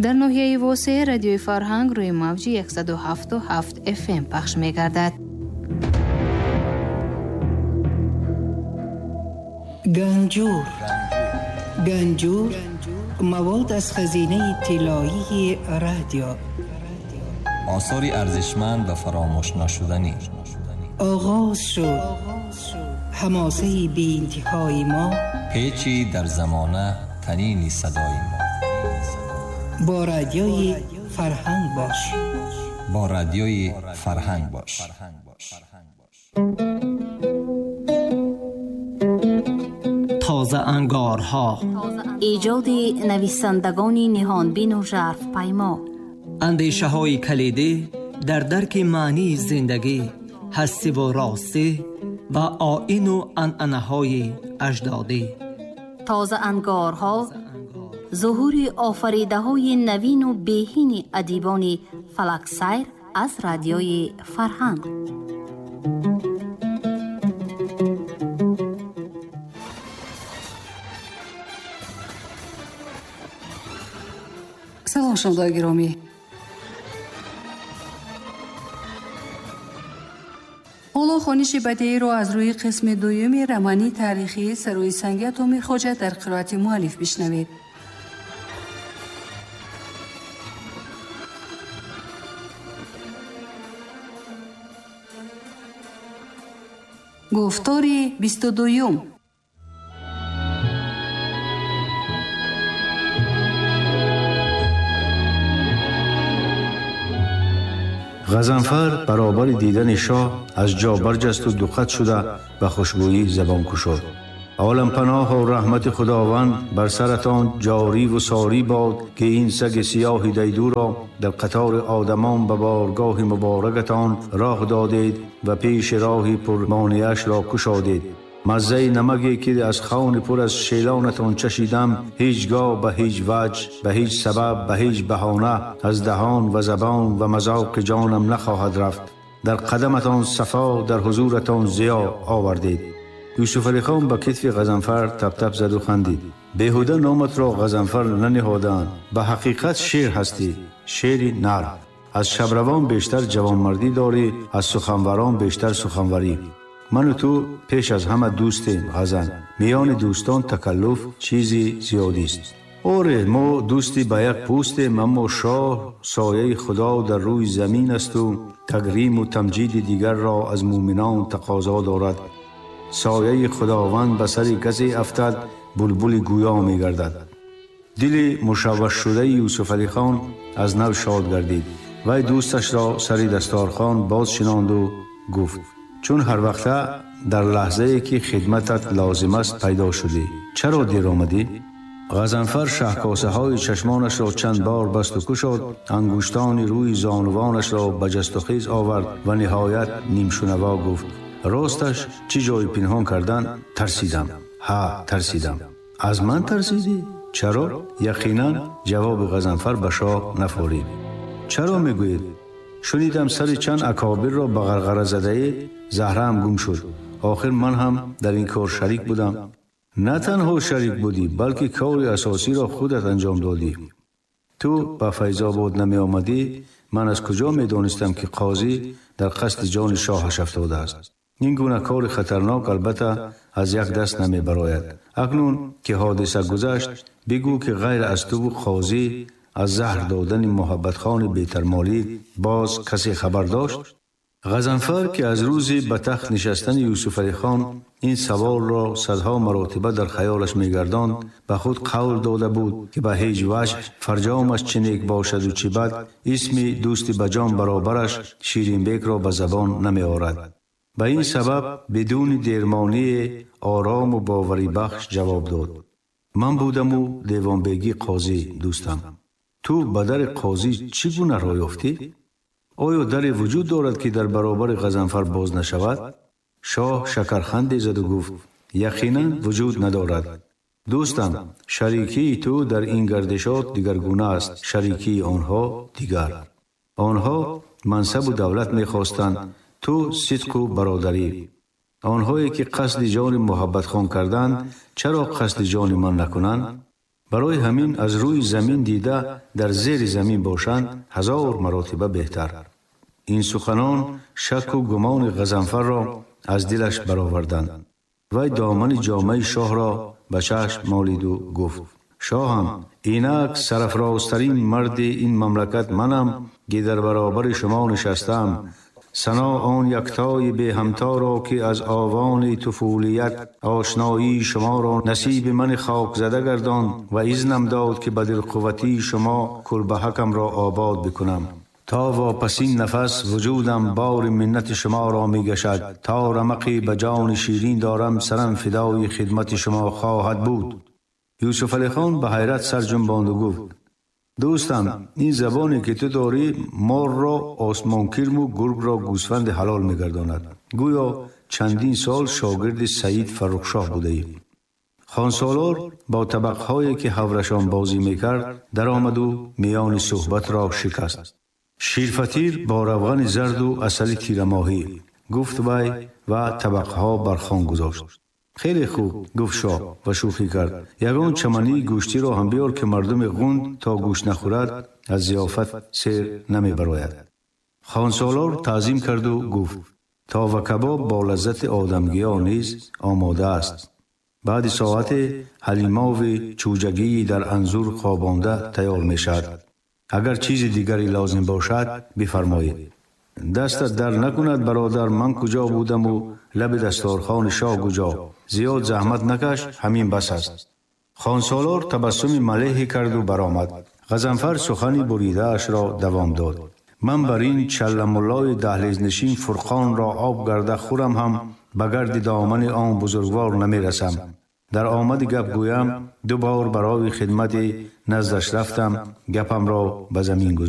Дар ноҳияи Восеъ радиои Фарҳанг рӯи мавҷи 107.7 FM пахш мегардад. Ганҷур. Ганҷур мавод аз хазинаи тиллоии радио. Осори арзишманд ва фаромӯш нашуданӣ. Оғоз шуд ҳамосаи беинтиҳои мо. Печи дар замона танини садои мо. Бо радиои Фарҳанг бош. Бо радиои Фарҳанг бош. Тоза ангорҳо. Эҷоди нависандагони ниҳонбину жарфпаймо. Андешаҳои калидӣ дар дарки маънии зиндагӣ, ҳастиву ростӣ ва оину анъанаҳои аҷдодӣ. Тоза ангорҳо зуҳури офаридаҳои навину беҳини адибони фалаксайр аз радиои Фарҳанг. Салом шунавандагони гиромӣ. Ҳоло хониши бадеиро аз рӯи қисми дуюми романи таърихии Сарои санги Атоми Хоҷа дар қироати муаллиф бишнавед. Гуфтори 22. Ғазанфар баробари дидани шоҳ аз ҷо барҷасту дуқат шуда ба хушбӯӣ забон кушод. Олампаноҳу раҳмати Худованд бар саратон ҷориву сорӣ бод, ки ин саги сиёҳи дайдуро дар қатори одамон ба боргоҳи муборакатон роҳ додед ва пеши роҳи пурмонеашро кушодед. Маззаи намаге ки аз хони пур аз шелонатон чашидам, ҳеҷ гоҳ ба ҳеҷ ваҷ, ба ҳеҷ сабаб, ба ҳеҷ баҳона аз даҳон ва забон ва мазоқи ҷонам нахоҳад рафт. Дар қадаматон сафо, дар ҳузуратон зиё овардед. Юсуф Алихон ба китфи Ғазанфар таптап заду хандид. Беҳуда номатро Ғазанфар наниҳодаанд. Ба ҳақиқат шер ҳастӣ, шери нар. Аз шабравон бештар ҷавонмардӣ дорӣ, аз суханварон бештар суханварӣ. Ману ту пеш аз ҳама дӯстем, Ғазан. Миёни дӯстон такаллуф чизи зиёдист. Оре, мо дӯсти ба як пӯстем, аммо шоҳ сояи Худо дар рӯи замин асту тагриму тамҷиди дигарро аз мӯминон тақозо дорад. Сояи Худованд ба сари касе афтад, булбули гӯё мегардад. Дили мушаввашшудаи Юсуф Алихон аз нав шод гардид. Вай дӯсташро сари дасторхон боз шинонду гуфт: чун ҳар вақта дар лаҳзае ки хидматат лозим аст пайдо шудӣ, чаро дер омадӣ? Ғазанфар шаҳкосаҳои чашмонашро чанд бор басту кушод, ангуштони рӯи зонувонашро ба ҷасту хез овард ва ниҳоят нимшунаво гуфт: росташ чӣ ҷойи пинҳон кардан тарсидам. Ҳа, тарсидам. Аз ман тарсидӣ? Чаро? Яқинан ҷавоби Ғазанфар ба шоҳ нафорид. Чаро мегӯед? Шунидам сари чанд акобирро ба ғарғара задаед, заҳраам гум шуд. Охир ман ҳам дар ин кор шарик будам. На танҳо шарик будӣ, балки кори асосиро худат анҷом додӣ. Ту ба Файзобод намеомадӣ, ман аз куҷо медонистам, ки қозӣ дар қасди ҷони шоҳаш афтодааст? Ин гуна кори хатарнок албатта аз як даст намебарояд. Акнун ки ҳодиса гузашт, бигӯ ки ғайр аз туву қозӣ аз заҳр додани Муҳаббатхони бетармолӣ боз касе хабар дошт? Ғазанфар ки аз рӯзи ба тахт нишастани Юсуф Алихон ин саволро садҳо маротиба дар хаёлаш мегардонд, ба худ қавл дода буд, ки ба ҳеҷ ваҷҳ фарҷомаш чӣ нек бошаду чӣ бад, исми дӯсти ба ҷон баробараш Ширинбекро ба забон намеорад. Ба ин сабаб бидуни дермоние орому боварибахш ҷавоб дод: ман будаму девонбегӣ қозӣ, дӯстам. Ту ба дари қозӣ чӣ гуна роҳ ёфтӣ? Оё даре вуҷуд дорад, ки дар баробари Ғазанфар боз нашавад? Шоҳ шакарханде заду гуфт: яқинан вуҷуд надорад. Дӯстам, шарикии ту дар ин гардишот дигаргуна аст, шарикии онҳо дигар. Онҳо мансабу давлат мехостанд, ту сидқу бародарӣ. Онҳое ки қасди ҷони Муҳаббатхон карданд, чаро қасди ҷони ман накунанд? Барои ҳамин аз рӯи замин дида дар зери замин бошанд ҳазор маротиба беҳтар. Ин суханон шаку гумони Ғазанфарро аз дилаш бароварданд. Вай домани ҷомаи шоҳро ба чашм молиду гуфт: шоҳам, инак сарафрозтарин марди ин мамлакат манам, ки дар баробари шумо нишастам. Сано он яктои беҳамторо, ки аз овони туфулият ошноии шуморо насиби мани хокзада гардонд ва изнам дод, ки ба дилқувватии шумо кулбаҳакамро обод бикунам. То вопасин нафас вуҷудам бори миннати шуморо мегашад, то рамақе ба ҷони ширин дорам, сарам фидои хидмати шумо хоҳад буд. Юсуф Алихон ба ҳайрат сар ҷунбонду гуфт: дӯстам, ин забоне ки ту дорӣ морро осмонкирму гургро гӯсфанди ҳалол мегардонад. Гӯё чандин сол шогирди Саид Фаррухшоҳ будаӣ. Хонсолор бо табақҳое ки ҳаврашон бозӣ мекард даромаду миёни суҳбатро шикаст. Ширфатир бо равғани зарду асали тирамоҳӣ, гуфт вай ва табақҳо бар хон гузошт. Хеле хуб, гуфт шоҳ ва шӯхӣ кард. Ягон чамании гӯштиро ҳам биёр, ки мардуми ғунд то гӯшт нахӯрад аз зиёфат сер намебарояд. Хонсолор таъзим карду гуфт: това кабоб бо лаззати одамгиё низ омода аст. Баъди соате ҳалимови чӯҷагии дар анзур хобонда тайёр мешавад. Агар чизи дигаре лозим бошад, бифармоед. Дастат дар накунад, бародар, ман куҷо будаму лаби дасторхони шоҳ куҷо? Зиёд заҳмат накаш, ҳамин бас аст. Хонсолор табассуми малеҳе карду баромад. Ғазанфар сухани буридаашро давом дод. Ман бар ин чалламуллои даҳлезнишин Фурқонро об гарда хӯрам ҳам ба гарди домани он бузургвор намерасам. Дар омади гап гӯям, ду бор барои хидмати наздаш рафтам, гапамро ба замин гузоштам.